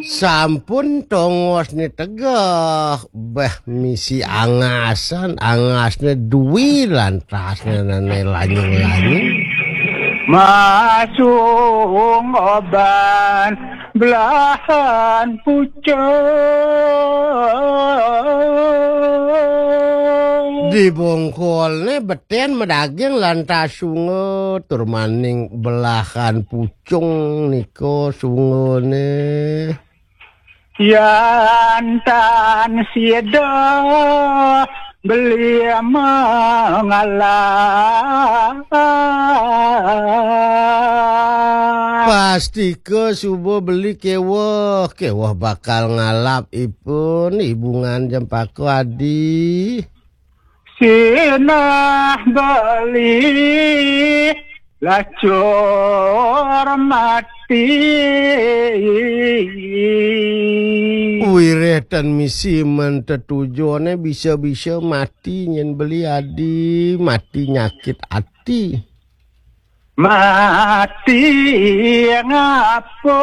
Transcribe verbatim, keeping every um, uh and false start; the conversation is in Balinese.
Sampun tongosné tegeh, béh misi angasan, angasné dui lantasné néné lanyung-lanyung. Masung oban belahan pucung. Dibongkolné betén madaging lantas sunga tur maning belahan pucung nika sungané. Yan tan sida beli mengalah. Pastika suba beli keweh, keweh bakal ngalap ipun, ibungan Jempaka Adi. Sinah beli lacur mati. Wiréh tan misi men tetujoné bisa-bisa mati nyén beli adi, mati nyakit ati. Mati ngapa?